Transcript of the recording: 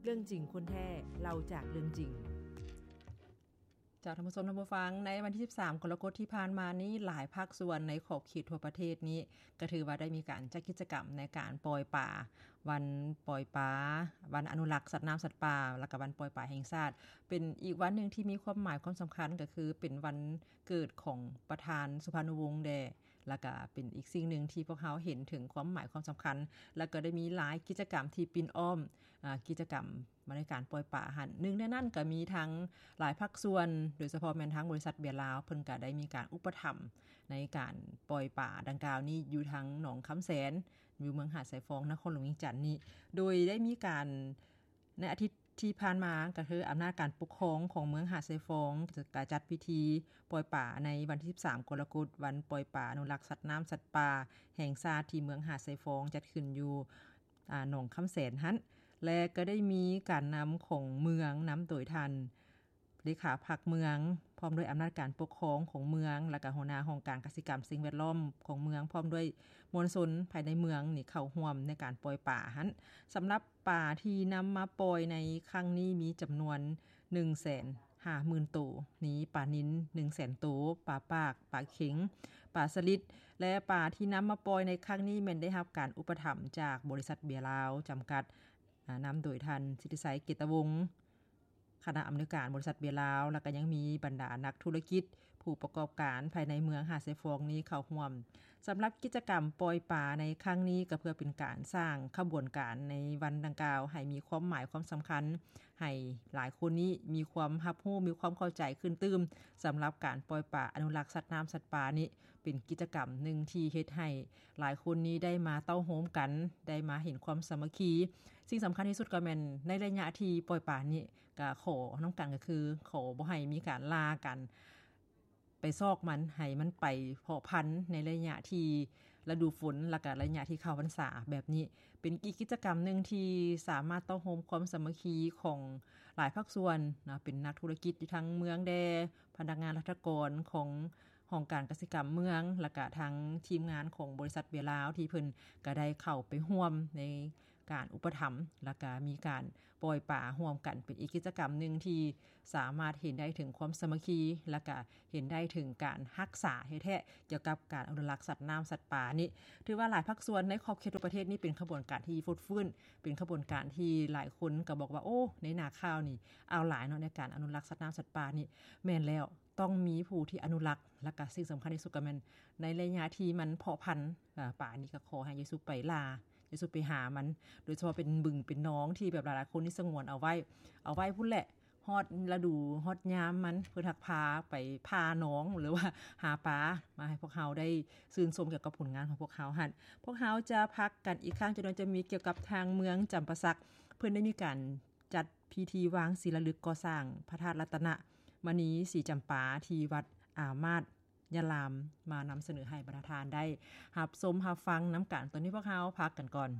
ເລື່ອງຈິງຄົນແທ້ ເລົ່າຈາກເລື່ອງຈິງ. ເຈົ້າ ທ່ານຜູ້ຊົມ ທ່ານຜູ້ຟັງ, ໃນວັນທີສິບສາມ ກໍລະກົດທີ່ຜ່ານມານີ້ ຫຼາຍພາກສ່ວນໃນຂອບເຂດທົ່ວປະເທດນີ້ ກໍຖືວ່າໄດ້ມີການຈັດກິດຈະກຳໃນການປ່ອຍປາ, ວັນປ່ອຍປາ, ວັນອະນຸລັກສັດນ້ຳສັດປ່າ ແລ້ວກໍວັນປ່ອຍປາແຫ່ງຊາດ ເປັນອີກວັນໜຶ່ງທີ່ມີຄວາມໝາຍຄວາມສຳຄັນ ກໍຄືເປັນວັນເກີດຂອງປະທານສຸພານຸວົງແດ່ ແລ້ວກະເປັນອີກສິ່ງໜຶ່ງທີ່ພວກເຮົາເຫັນເຖິງຄວາມໝາຍຄວາມສຳຄັນ ແລ້ວກໍໄດ້ມີຫຼາຍກິດຈະກຳທີ່ປິ່ນອ້ອມ ອາ ກິດຈະກຳໃນການປ່ອຍປາຫັ້ນ. ໜຶ່ງໃນນັ້ນກໍມີທັງຫຼາຍພາກສ່ວນ ໂດຍສະເພາະແມ່ນທາງບໍລິສັດເບຍລາວ ເພິ່ນກໍໄດ້ມີການອຸປະຖຳໃນການປ່ອຍປາດັ່ງກ່າວນີ້ ຢູ່ທາງໜອງຄຳແສນ ຢູ່ເມືອງຫາດຊາຍຟອງ ນະຄອນຫຼວງວຽງຈັນນີ້ ໂດຍໄດ້ມີການ ໃນອາທິດທີ່ຜ່ານມາ ກໍຄືອຳນາດການປົກຄອງຂອງເມືອງຫາດຊາຍຟອງ ກໍຈັດພິທີປ່ອຍປາໃນວັນທີສິບສາມ ກໍລະກົດ ວັນປ່ອຍປາອະນຸລັກສັດນ້ຳສັດປ່າແຫ່ງຊາດ ທີ່ເມືອງຫາດຊາຍຟອງ ຈັດຂຶ້ນຢູ່ ອາ ໜອງຄຳແສນຫັ້ນ ແລະ ກໍໄດ້ມີການນຳຂອງເມືອງ ນຳໂດຍທ່ານ ເລຂາພັກເມືອງ ພ້ອມດ້ວຍອຳນາດການປົກຄອງຂອງເມືອງ ແລ້ວກະຫົວໜ້າຫ້ອງການກະສິກຳສິ່ງແວດລ້ອມຂອງເມືອງ ພ້ອມດ້ວຍມວນຊົນພາຍໃນເມືອງນີ້ເຂົ້າຮ່ວມໃນການປ່ອຍປາຫັ້ນ. ສຳລັບປາທີ່ນຳມາປ່ອຍໃນຄັ້ງນີ້ມີຈຳນວນໜຶ່ງແສນຫ້າໝື່ນໂຕ, ມີປານິນໜຶ່ງແສນໂຕ, ປາປາກ, ປາເຂັງ, ປາສະລິດ ແລະ ປາທີ່ນຳມາປ່ອຍໃນຄັ້ງນີ້ແມ່ນໄດ້ຮັບການອຸປະຖຳຈາກບໍລິສັດເບຍລາວຈຳກັດ ອາ ນຳໂດຍທ່ານ ສິດທິໄຊ ເກດຕະວົງ ຄະນະອຳນວຍການບໍລິສັດເບຍລາວ ແລ້ວກໍຍັງມີບັນດານັກທຸລະກິດ ຜູ້ປະກອບການພາຍໃນເມືອງຫາດຊາຍຟອງນີ້ເຂົ້າຮ່ວມ. ສຳລັບກິດຈະກຳປ່ອຍປາໃນຄັ້ງນີ້ ກໍເພື່ອເປັນການສ້າງຂະບວນການໃນວັນດັ່ງກ່າວໃຫ້ມີຄວາມໝາຍຄວາມສຳຄັນ ໃຫ້ຫຼາຍຄົນນີ້ມີຄວາມຮັບຮູ້ ມີຄວາມເຂົ້າໃຈຂຶ້ນຕື່ມ ສຳລັບການປ່ອຍປາອະນຸລັກສັດນ້ຳສັດປ່ານີ້ ເປັນກິດຈະກຳໜຶ່ງທີ່ເຮັດໃຫ້ຫຼາຍຄົນນີ້ໄດ້ມາເຕົ້າໂຮມກັນ ໄດ້ມາເຫັນຄວາມສາມັກຄີ. ສິ່ງສຳຄັນທີ່ສຸດກໍແມ່ນໃນໄລຍະທີ່ປ່ອຍປານີ້ ກໍຂໍນຳກັນ ກໍຄືຂໍບໍ່ໃຫ້ມີການລ່າກັນ ໄປຊອກມັນ ໃຫ້ມັນໄປເພາະພັນໃນໄລຍະທີ່ລະດູຝົນ ແລ້ວກະໄລຍະທີ່ເຂົ້າພັນສາແບບນີ້. ເປັນອີກກິດຈະກຳໜຶ່ງທີ່ສາມາດເຕົ້າໂຮມຄວາມສາມັກຄີຂອງຫຼາຍພາກສ່ວນເນາະ, ເປັນນັກທຸລະກິດຢູ່ທາງເມືອງແດ່, ພະນັກງານລັດຖະກອນຂອງຫ້ອງການກະສິກຳເມືອງ ແລ້ວກະທາງທີມງານຂອງບໍລິສັດເບຍລາວ ທີ່ເພິ່ນກະໄດ້ເຂົ້າໄປຮ່ວມໃນການອຸປະຖຳ ແລ້ວກະມີການປ່ອຍປາຮ່ວມກັນ. ເປັນອີກກິດຈະກຳໜຶ່ງທີ່ສາມາດເຫັນໄດ້ເຖິງຄວາມສາມັກຄີ ແລ້ວກະເຫັນໄດ້ເຖິງການຮັກສາແທ້ໆ ກ່ຽວກັບການອະນຸລັກສັດນ້ຳສັດປ່ານີ້. ຖືວ່າຫຼາຍພາກສ່ວນໃນຂອບເຂດທົ່ວປະເທດນີ້ເປັນຂະບວນການທີ່ຟົດຟື້ນ, ເປັນຂະບວນການທີ່ຫຼາຍຄົນກໍບອກວ່າ ໂອ້ ໃນໜ້າຂ່າວນີ້ເອົາຫຼາຍເນາະ ໃນການອະນຸລັກສັດນ້ຳສັດປ່ານີ້. ແມ່ນແລ້ວ, ຕ້ອງມີຜູ້ທີ່ອະນຸລັກ ແລ້ວກະສິ່ງສຳຄັນທີ່ສຸດກໍແມ່ນໃນໄລຍະທີ່ມັນເພາະພັນ ອາ ປານີ້ກໍຂໍໃຫ້ຢ່າສູ່ໄປລ່າ ຢ່າສູ່ໄປຫາມັນ, ໂດຍສະເພາະເປັນບຶງເປັນໜອງທີ່ແບບຫຼາຍໆຄົນນີ້ສະຫງວນເອົາໄວ້ ເອົາໄວ້ພຸ້ນແຫຼະ ຮອດລະດູຮອດຍາມມັນ ເພິ່ນຮັກພາໄປຜ່າໜອງ ຫຼືວ່າຫາປາມາໃຫ້ພວກເຮົາໄດ້ຊື່ນຊົມກ່ຽວກັບຜົນງານຂອງພວກເຮົາຫັ້ນ. ພວກເຮົາຈະພັກກັນອີກຄັ້ງ ຈະໂດຍຈະມີກ່ຽວກັບທາງເມືອງຈຳປາສັກ ເພິ່ນໄດ້ມີການຈັດພິທີວາງສີລາລຶກກໍ່ສ້າງພະທາດລັດຕະນະມະນີສີຈຳປາ ທີ່ວັດອາມາດຍາລາມ ມານຳສະເໜີໃຫ້ບັນດາທ່ານໄດ້ຮັບຊົມຮັບຟັງນຳກັນ. ຕອນນີ້ພວກເຮົາພັກກັນກ່ອນ.